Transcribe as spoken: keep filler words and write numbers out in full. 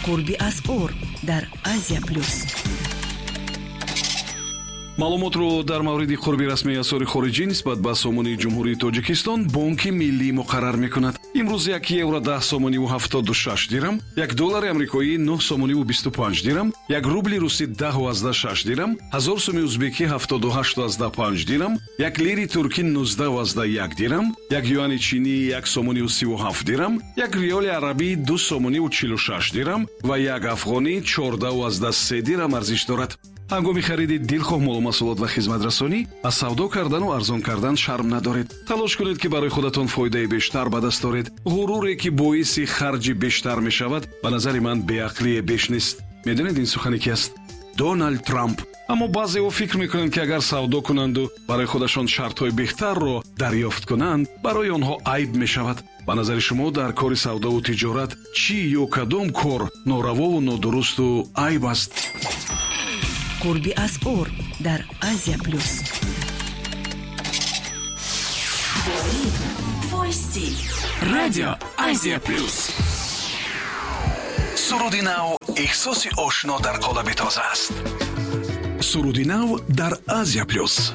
Қурби асъор дар Азия Плюс. Маълумотро дар мавриди қурби расмии асъори хориҷӣ нисбат ба сомонии Ҷумҳурии Тоҷикистон Бонки Миллӣ муқаррар мекунад. Имрӯз як евро даҳ сомониву ҳафтоду шаш дирам, як доллари амрикоӣ нӯҳ сомониву бисту панҷ дирам, як рубли русӣ даҳу азда шаш дирам, ҳазор суми узбекӣ ҳафтоду ҳашту азда панҷ дирам, як лири туркӣ нуздаҳу азда як дирам, як юани чинӣ як сомониву сиву ҳафт дирам, як риёли арабӣ ду сомониву чилу шаш дирам ва як афғонӣ чордаҳу азда се дирам арзиш дорад. Ҳангоми хариди дилхоҳ молу маҳсулот ва хизматрасонӣ аз савдо кардану арзон кардан шарм надоред. Талош кунед, ки барои худатон фоидаи бештар ба даст оред. Ғуруре, ки боиси харҷи бештар мешавад, ба назари ман беақлие беш нест. Медонед, ин сухане ки аст? Доналд Трамп. Аммо баъзеҳо фикр мекунанд, ки агар савдо кунанду барои худашон шартҳои беҳтарро дарёфт кунанд, барои онҳо айб мешавад. Ба назари шумо, дар кори савдову тиҷорат чӣ ё кадом кор норавову нодурусту айб аст? Қурби асъор дар Азия Плюс. Твой стиль. Радио Азия Плюс. Суруди нав эҳсоси ошно дар қолаби тоза аст. Суруди нав дар Азия Плюс.